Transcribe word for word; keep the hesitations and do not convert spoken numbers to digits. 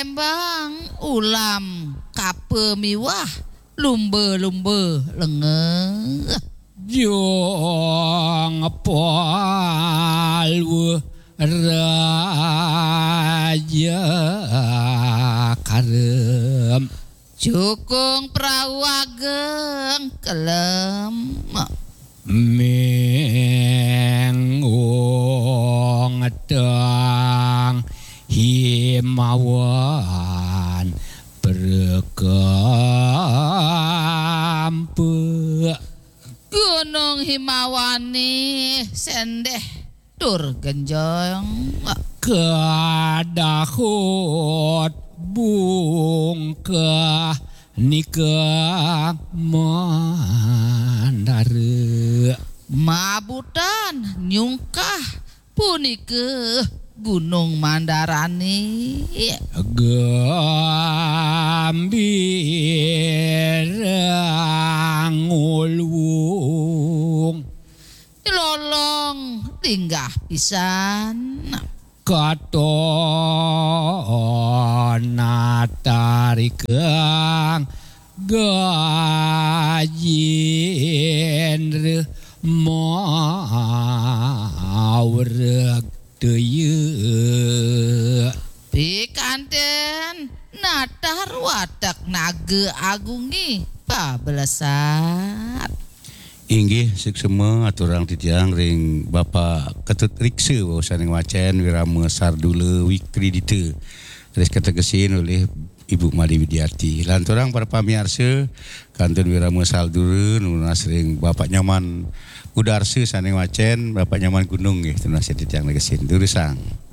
Tembang ulam kapa miwah lumba-lumba lenga. Jong palwa raja karem. Jukung prau ageng kelem. Mengong tang himawan perkampe. Gunung Himawané sendeh tur genjong. Kadahut bungkah nika mandara. Mabutan nyungkah punika Gunung Mandarané. Gambirang ulung. Lolong linggah pisan. Katon natarikang gajendra maureg daya. Pikanten natar watek naga agungé pabelesat. Inggih, suksma aturang titiang ring Bapak Ketut Riksa, wau sané ngwacén Wirama Sardula Wikridita. Raris kategesin olih Ibu Made Widiati. Lanturang para pamiarsa, kantun Wirama Sardula nunas ring Bapak Nyoman Gudarsa sané ngwacén, Bapak Nyoman Gunung nggih, tunas titiang negesin. Durusang.